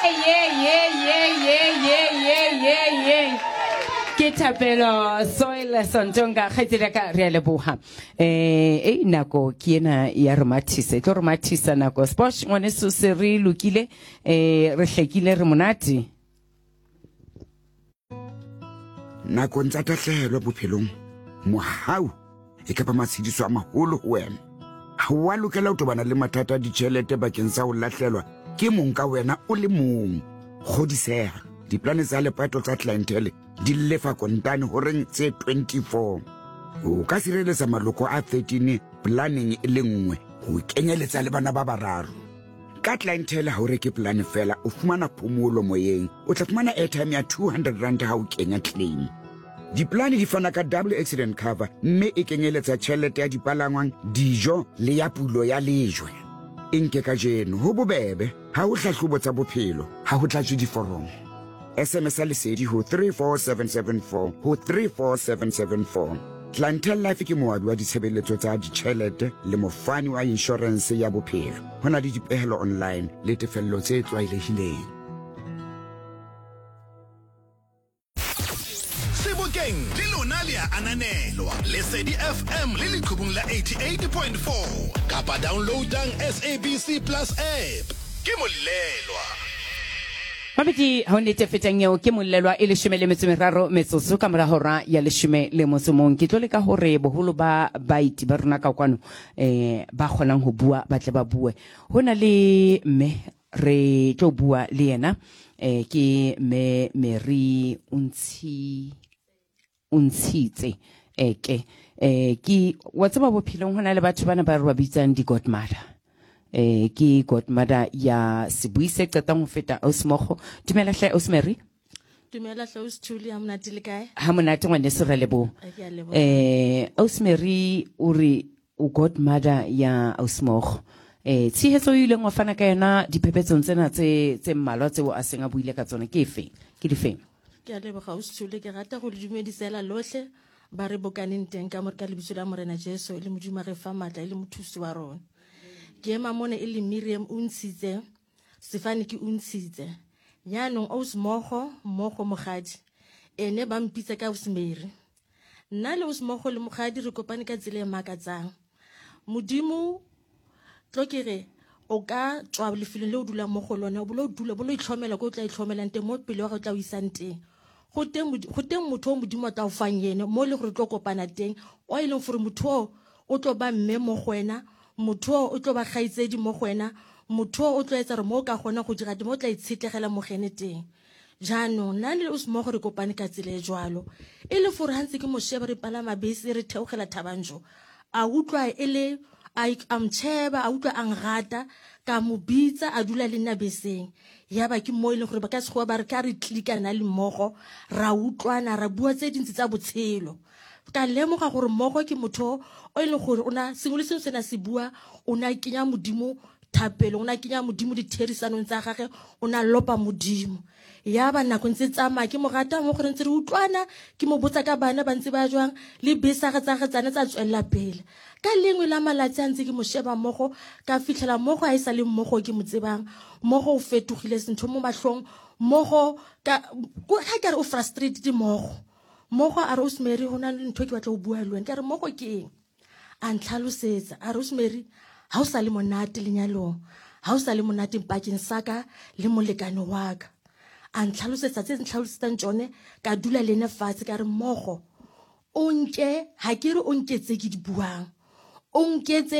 Ye ye ye ye ye ye ye ye. Ke thapelo soil sontonga kgaitsedi ya ka re a leboga. Eh e nako ke ena ya re mathisa. E tlo re mathisa nako. Sposh ngwaneso se re lokile eh re hlekile re monate. Nakong tsa tahlehelo bophelong, mohau e ka ba matshediso a maholo ho wena. Ha o a lokela ho tobana le mathata a ditjhelete bakeng sa ho lahlelwa ke mong ka wena o le mong. Kgodiseha, diplane tsa lepato tsa Clientele di lefa kontane horeng tse 24. O ka sireletsa maloko a 13 planeng e le nngwe ho kenyeletsa le bana ba bararo. Ka Clientele ha o reke polane fela, o fumana phomolo moyeng. O tla fumana airtime ya 200 rand ha o kenya claim. Dipolane di fana ka double accident cover mme e kenyeletsa tjhelete ya dipalangwang, dijo le ya pulo ya lejwe. E nke kajeno, ho bobebe, ha ho hlahlobo tsa bophelo, ha ho tlatswe diforomo. SMS-a Lesedi ho 34774 ho 34774. Clientele Life ke moabi wa ditshebeletso tsa ditjhelete le mofani wa inshorense ya bophelo. Ho na le dipehelo online le tefello tse tlwaelehileng. Sebokeng le lona le a ananelwa. Lesedi FM le leqhubung la 88.4 kapa downloadang SABC Plus app. Ke Mollelwa. Mabedi ga o nete fetang eo ke mollelwa e leshome le metso meraro metsotso ka mora hora ya leshome le motso mong. Ke tlo leka hore boholo ba baeti ba rona ka kwano eh ba kgonang ho bua ba tle ba bue. Ho na le mme re tlo bua le yena eh ke mme Mary o ntshitse eke eh ke wa tseba bophelong ho na le batho bana ba re ba bitsang di-godmother eh ke godmother ya sebui se qetang ho feta ausmogo. Dumela hle Ausmary. Dumela hle Austhuli, ha monate le kae? Ha monate ngwaneso, re leboha. Ke a leboha. Ausmary o re o godmother ya Ausmogo. Tshehetso e ileng wa fana ka yona diphepetsong tsena tse mmalwa tseo a seng a buile ka tsona ke efe? Ke difeng? Ke a leboga Austhuli, ke rata go le dumedisela lohle ba re bokaneng teng ka ka lebitso la Morena Jesu e le Modimo a re fa matla e le mothusi wa rona. Ke ema mona e le Miriam o ntshitse, sefane ke o ntshitse. Jaanong Ausmogo, mmogo mogadi, ene ba mpitsa ka Ausmary. Nna le Ausmogo le mogadi re kopane ka tsela e makatsang. Modimo tlo ke re o ka tswa lefelong le o dulang mo go lone, o bolo dula, bolo itlhomela ko o tla itlhomelang teng, mo pele wa gago tla o isang teng. Go teng motho o Modimo a tla o fang ene, mo e leng gore tlo kopana teng, o e leng gore motho o o tlo ba mme mo go wena, motho o o tlo ba kgaitsedi mo go wena, motho o o tlo etsa gore mo o ka kgona go dira teng, mo o tla itshetlegela mo gene teng. Jaanong nna le Osmogo re kopane ka tsela e jwalo, e le gore ha ntse ke mo sheba re palama bese re theogela Thabanjo, a utlwa e le a mtšheba, a utlwa a nrata, ka mo bitsa a dula le nna beseng. Ya ba ke mo e leng gore ba ka sekgowa ba re ka re tlika nna le mmogo, ra utlwana, ra bua tse dintsi tsa botshelo. Ka lemoga gore mmogo ke motho o e leng gore o na sengwe le sengwe se na se bua, o na kenya Modimo thapelo, o na kenya Modimo ditherisanong tsa gage, o na lopa Modimo. Ya ba nako ntse tsamaya, ke mo rata mo gore ntse re utlwana, ke mo botsa ka bana ba ntse ba jwang, le bese ga tsa ge tsane tsa tswelela pele. Ka lengwe la malatsi a ntse ke mo sheba mmogo, ka fitlhela mmogo a e sa le mmogo ke mo tsebang, mmogo o fetogile sentho mo matlhong, mmogo ka ga ke re o frustrated mmogo. Mmogo a re Rosemary go na le ntho ke batla go bua le wena, ke re mmogo ke eng? A ntlhalosetsa a Rosemary ha o sa le monate lenyalong, ha o sa le monate pakeng sa ka le molekane wa ka. A ntlhalosetsa tse ntlhalosetsang tsone, ka dula le ene fatshe ka re mmogo o nke, ha ke re o nke tse ke di buang, o nke tse le